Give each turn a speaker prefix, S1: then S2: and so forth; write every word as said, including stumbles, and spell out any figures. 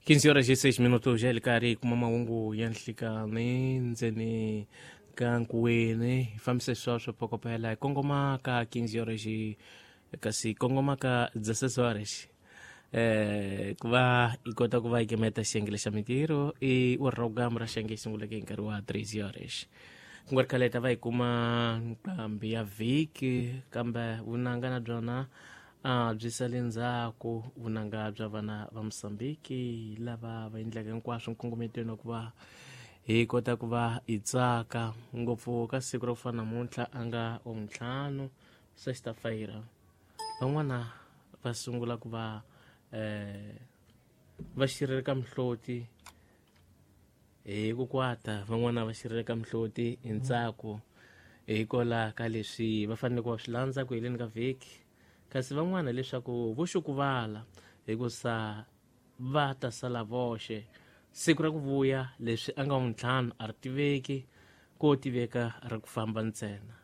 S1: quinze horas e seis minutos já ele kari kuma mahungu ya nhlikani ndzeni ka nkuweni hi fambisa sweswo phokopela hi kongoma ka quinze horas e kasi kongoma ka dezesseis horas eh ku va hi kota ku va hi kemeta xiyenge xa mintirho i program ra xiyenge xi sunguleke hi nkarhi wa treze horas ku nga ri khale hi ta va hi kuma nqambi ya vhiki kambe vunanga na byona a byi sale ndzhaku vunanga bya vana va Mozambique lava va endlaka hinkwaswo nkongometweni wa ku va hi kota ku va hi tsaka ngopfu ka siku ra ku fana namuntlha a nga wa ntlhanu sexta-feira van'wana va sungula ku va eh va xireleka mihloti hi ku kwata van'wana va xireleka mihloti hi ntsako hikola ka leswi va fanele ku va swi landza ku heleni ka vhiki kasi van'wana leswaku vo xukuvala hikusa va ta sala voxe siku ra ku vuya leswi a nga wa ntlhanu a ri tiveki ko tiveka ra ku famba ntsena.